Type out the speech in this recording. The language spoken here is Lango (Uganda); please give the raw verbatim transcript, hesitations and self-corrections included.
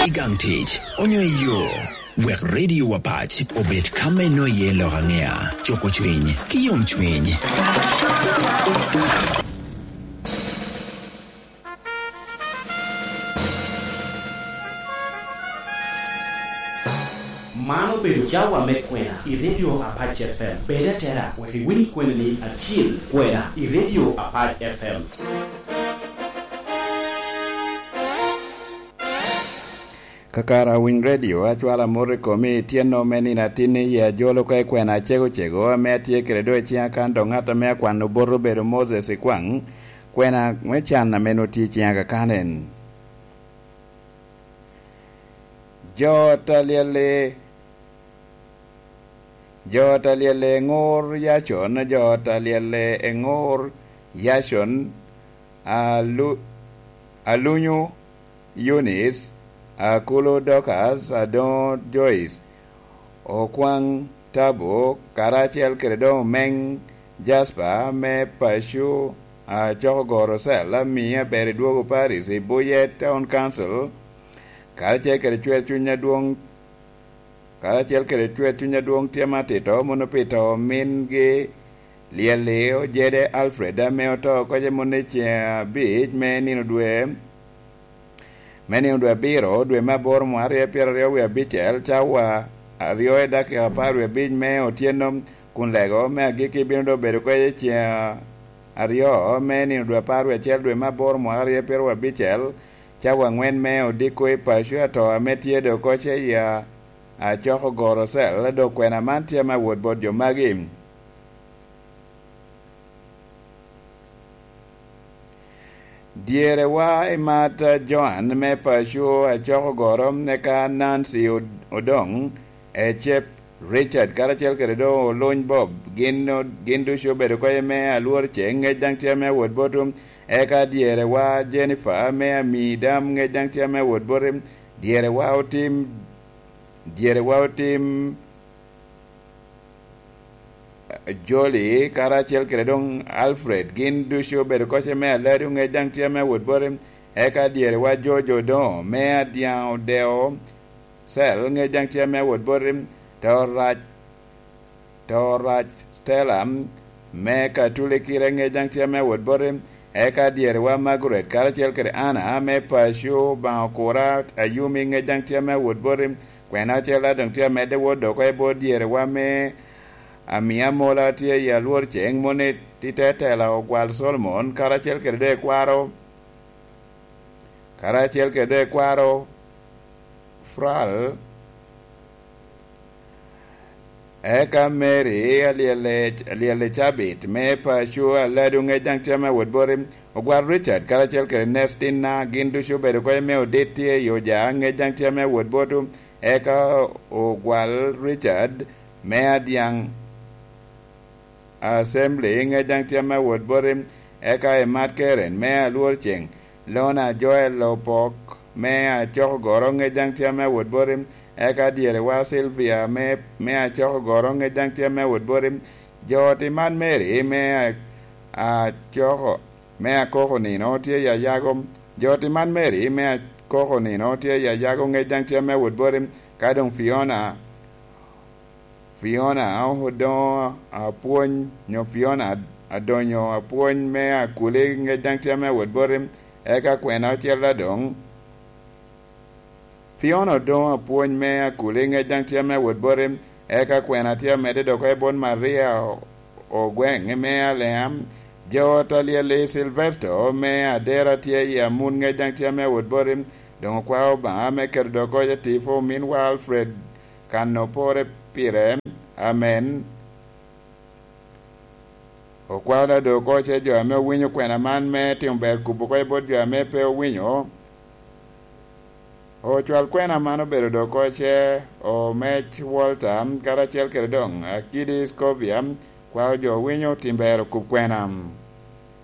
I gang tic, onyo i yo, wek Radio Apac obed ka me nwoŋo iye lok aŋea, cuko cwiny, ki yomcwiny. Man obedo cawa me kwena i Radio Apac F M. Bed atera wek iwiny kweni-ni acil, kwena i Radio Apac F M. Kakare awiny redio, acwalo amot i komi i tyeno me nino atinni i ajolo ka i kwena acego cego ame atye kede doŋ i ciŋa kan dok ŋat ame akwano bot obedo Moses Ikwaŋ, kwena me can ame nwoŋo tye i ciŋa kakan en. Jo ot a lyel-li, jo ot a lyel-li Eŋur Yacon, jo ot a lyel-li Eŋur Yacon, Alu-, Alunyu Yunis, Akulu Dorcas, Adoŋo Joyce, Okwaŋ Tabo, karacel kede doŋ Omeŋ Jasper me paco, Acokogoro Cell, Amii Aberidwogo Paris i Buye Town Council, karacel kede Cwer Cuny Adwoŋ, karacel kede Cwer Cuny Adwoŋ Tyem Atito, mono pi to omingi Lyel-li Ojede Alfred, ame oto oko cemonne ceŋ abic me nino dwe, me nino dwe abiro, dwe me aboro, mwaka aryo pyeraryo wie abicel, cawa aryo i dakika apar wie abic me otyeno, kun lego me agikki bino doŋ bedo kwece ceŋ aryo me nino dwe apar wie acel, dwe me aboro, mwaka aryo pyeraryo abicel, cawa aŋwen me odiko i paco ato ame tye doŋ oko ce i a-, Acokogoro Cell, dok kwena man tye ame awot bot jo magi. Dyerewa i mat Joan me paco Acokogoro, eka Nancy Od-, Odoŋ, Ecep Richard, karacel kede doŋ Oluny Bob, gin o-, gin ducu obedo kede me alwor ceŋ, ŋec daŋ tye ame awot bot, eka dyerewa Jennifer me Amii Dam, ŋec daŋ tye ame awot bot, dyerewa Otim, dyerewa Otim, Joli, karacel kede doŋ Alfred, gin ducu obedo koce me Aladi, oŋec daŋ tye ame awot boti, eka dyerewa Jojo Odoŋo, me Adyaŋ Odeo Cell, ŋec daŋ tye ame awot boti, Torac, Torac Stella, me Katuli kite, ŋec daŋ tye ame awot boti, eka dyerewa Margaret, karacel kede Anna, me paco Obaŋa Okura Ayumi, ŋec daŋ tye ame awot boti, Kwena ocel daŋ tye amedde wot dok oko i bot dyerewa me Amia Mola tye i alwor ceŋ moni i te tela Ogwal Solomon, karacel kede doŋ ekwaro, karacel kede doŋ ekwaro Fral, eka Mary alyelle, alyelle cabit me paco Aladu, ŋec daŋ tye ame wot boti, Ogwal Richard, karacel kede Nestina, gin ducu obedo oko i me odit tye i Oja, ŋec daŋ tye ame wot boti, eka Ogwal Richard me Adyaŋ Assembly, ŋec daŋ tye ame wot boti, eka Emat Karen me Alwor Ceŋ, Lona Joel Opok me Acokogoro, ŋec daŋ tye ame wot boti, eka dyerewa Sylvia me, me Acokogoro, ŋec daŋ tye ame wot boti, jo ot i Mad Mary me A-, Acoko-, me Akoko Nino tye i Ayago, jo ot i Mad Mary me Akoko Nino tye i Ayago, ŋec daŋ tye ame wot boti, ka doŋ Fiona, Fiona Odongo Apwony, nyo Fiona Adonyo Apwony me Akuli, ŋec daŋ tye ame wot boti, eka kwena ocel adoŋ. Fiona Odongo Apwony me Akuli, ŋec daŋ tye ame wot boti, eka kwena tye amedde dok oko i bot Maria Ogweŋ me Alea, jo ot alyel i Silvesto me Adera tye i Amun, ŋec daŋ tye ame wot boti, doŋ okwao Obaŋa me keto dok oko i tipo ominwa Alfred kan opore pire. Amen. Okwao da doŋ oko ce jo ame owinyo kwena man me timo ber kubo oko i bot jo ame pe owinyo. Ocwal kwena man obedo doŋ oko ce Omec Walter, karacel kede doŋ Akidi Scovia, kwao jo owinyo tim ber okub kwena.